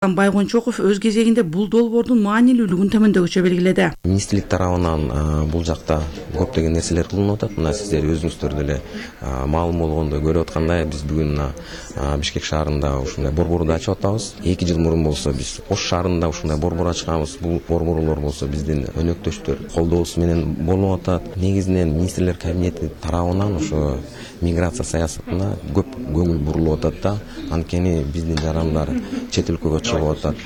Байгончоков өз кезегинде бул долбоордун маанилүүлүгүн төмөндөгүчө белгиледи. Министрлик тарабынан бул жакта көптөгөн нерселер кылынып атат. Мына сиздер өзүңүздөр деле маалым болгондой көрүп аткандай биз бүгүн Бишкек шаарында ушундай борборду ачып атабыз. 2 жыл мурун болсо биз Ош шаарында ушундай борбор ачканбыз. Бул борборлор болсо биздин өнөктөштөр колдоосу менен болуп атат. Негизинен министрлер кабинети тарабынан ошо миграция саясатына көп көңүл бурулуп атат да. Анткени биздин жарандар чет өлкөгө чыгып атат.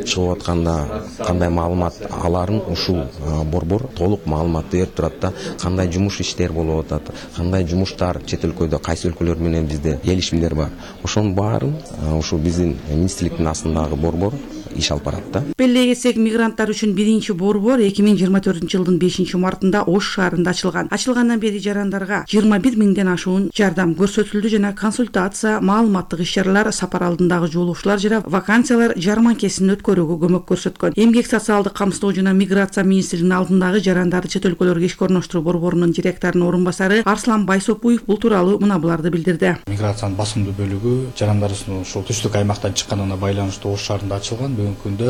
Чыгып атканда кандай маалымат аларын ушул борбор толук маалыматты берип турат да. Кандай жумуш иштер болуп атат, кандай жумуштар чет өлкөдө, кайсы өлкөлөр менен бизде келишимдер бар. Ошонун баарын ушул биздин министрликтин астындагы борбор иш алып барат да. Белгилей кетсек, мигранттар үчүн биринчи борбор 2024-жылдын 5-мартында Ош шаарында ачылган. Ачылгандан бери жарандарга 21 миңден ашуун жардам көрсөтүлдү жана консультация, маалыматтык иш-чаралар, сапар алдындагы жолугушуулар жана вакансиялар жарманкесин өткөрүүгө көмөк көрсөткөн. Эмгек социалдык камсыздоо жана миграция министрлигинин алдындагы жарандарды чет өлкөлөргө ишке орноштуруу борборунун директорунун орун басары Арслан Байсопуев бул тууралуу мына буларды билдирди. Миграциянын басымдуу бөлүгү жарандарыбыздын ушул түштүк аймактан чыкканына байланыштуу Ош шаарында ачылган. Бүгүнкү күндө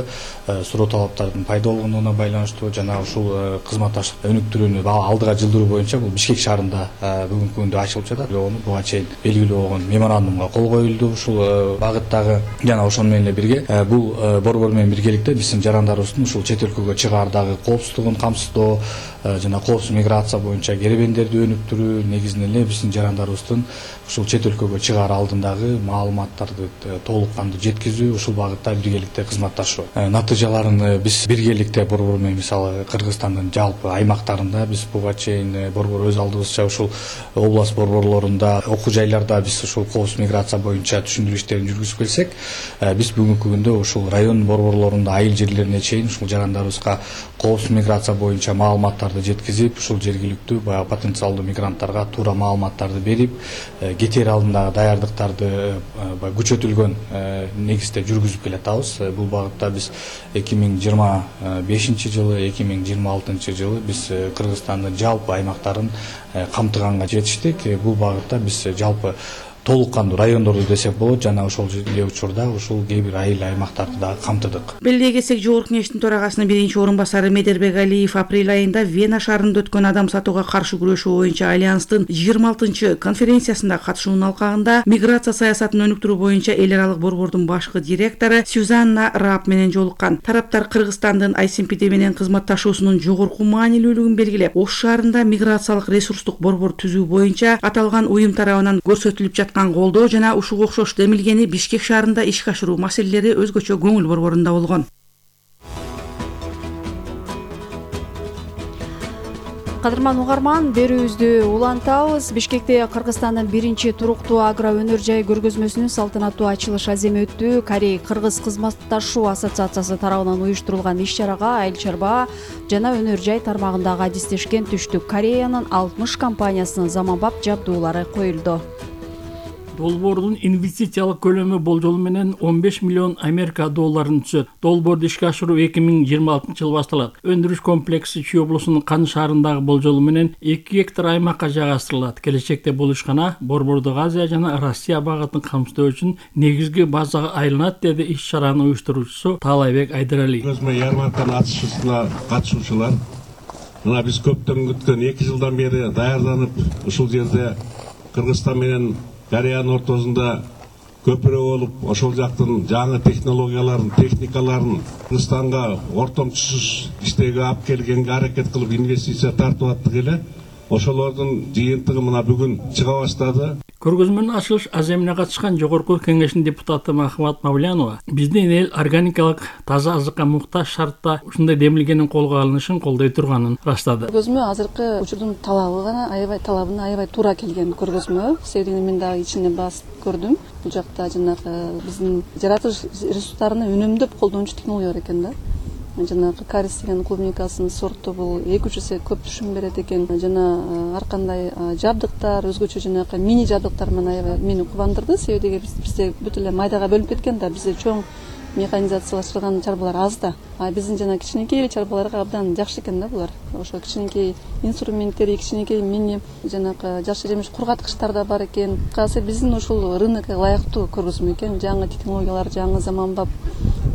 суроо талаптардын пайда болгонуна байланыштуу жана ушул кызматташтык өнүктүрүүнү алдыга жылдыруу боюнча бул Бишкек шаарында бүгүнкү күндө ачылып жатат. Буга чейин белгилүү болгон меморандумга кол коюлду ушул багыттагы жана ошону менен эле бирге бул борбор менен биргеликте биздин жарандарыбыздын ушул чет өлкөгө чыгаардагы коопсуздугун камсыздоо жана коопсуз миграция боюнча керебендерди өнүктүрүү, негизинен эле биздин жарандарыбыздын ушул чет өлкөгө чыгаар алдындагы маалыматтарды толук кандуу жеткизүү, ушул багытта биргеликте кызматташуу. Натыйжаларын биз биргеликте борбор менен мисалы Кыргызстандын жалпы аймактарында биз буга чейин борбор өз алдыбызча ушул область борборлорунда, окуу жайларда биз ушул коопсуз миграция боюнча түшүндүрүү иштерин жүргүзүп келсек, биз бүгүнкү күндө ушул район борборлорунда айыл жерлерине чейин ушул жарандарыбызга коопсуз миграция боюнча маалыматтарды жеткизип, ушул жергиликтүү баягы потенциалдуу мигранттарга туура маалыматтарды берип, кетер алдындагы даярдыктарды күчөтүлгөн негизде жүргүзүп келатабыз. Бул багытта биз 2025-жылы, 2026-жылы биз Кыргызстандын жалпы аймактарын камтыганга жетиштик. Бул багытта биз жалпы толук кандуу райондорду десек болот жана ошол эле учурда ушул кээ бир айыл аймактарды дагы камтыдык. Белгилей кетсек, Жогорку Кеңештин төрагасынын биринчи орун басары Медербек Алиев апрель айында Вена шаарында өткөн адам сатууга каршы күрөшүү боюнча Альянстын 26-конференциясында катышуунун алкагында миграция саясатын өнүктүрүү боюнча эл аралык борбордун башкы директору Сюзанна Рап менен жолуккан. Тараптар Кыргызстандын ICMPD менен кызматташуусунун жогорку маанилүүлүгүн белгилеп, Ош шаарында миграциялык ресурстук борбор түзүү боюнча аталган уюм тарабынан көрсөтүлүп жаткан колдоо жана ушуга окшош демилгени Бишкек шаарында ишке ашыруу маселелери өзгөчө көңүл борборунда болгон. Кадырман угарман, берүүбүздү улантабыз. Бишкекте Кыргызстандын биринчи туруктуу агро өнөр жай көргөзмөсүнүн салтанаттуу ачылыш аземи өттү. Корей-Кыргыз кызматташуу ассоциациясы тарабынан уюштурулган иш-чарага айыл чарба жана өнөр жай тармагындагы адистешкен Түштүк Кореянын 60 компаниясынын заманбап жабдуулары коюлду. Долбоордун инвестициялык көлөмү болжол менен 15 миллион Америка долларын түзөт. Долбоорду ишке ашыруу 2026-жылы башталат. Өндүрүш комплекси Чүй облусунун Кан шаарындагы болжол менен 2 гектар аймакка жайгаштырылат. Келечекте бул ишкана борбордук Азия жана Россия багытын камсыздоо үчүн негизги базага айланат, деди иш-чаранын уюштуруучусу Таалайбек Айдарали. Көргөзмө ярмарканын ачылышына катышуучулар, мына биз көптөн күткөн 2 жылдан бери даярданып, ушул жерде Кыргызстан менен Кореянын ортосунда көпүрө болуп, ошол жактын жаңы технологияларын, техникаларын Кыргызстанга ортомчусуз иштеге алып келгенге аракет кылып инвестиция тартып аттык эле. Ошолордун жыйынтыгы мына бүгүн чыга баштады. Көргөзмөнүн ачылыш аземине катышкан Жогорку Кеңештин депутаты Махмат Мавлянова биздин эл органикалык таза азыкка муктаж шартта ушундай демилгенин колго алынышын колдой турганын ырастады. Көргөзмө азыркы учурдун талабына аябай туура келген көргөзмө. Себебин мен дагы ичине басып көрдүм. Бул жакта жанагы биздин жаратылыш ресурстарын үнөмдөп колдонуучу технология бар экен да. Жанагы карис деген клубникасынын сорту бул 2-3 эсе көп түшүм берет экен. Жана ар кандай жабдыктар, өзгөчө жанагы мини жабдыктар менен мени кубандырды. Себеби бизде бүт эле майдага бөлүнүп кеткен да, бизде чоң механизациялаштырылган чарбалар аз да. Биздин жана кичинекей чарбаларга абдан жакшы экен да булар. Ошо кичинекей инструменттер, кичинекей мини жанагы жакшы жемиш кургаткычтар да бар экен. Кайсы биздин ушул рынокко ылайыктуу көргөзмө экен. Жаңы технологиялар, жаңы заманбап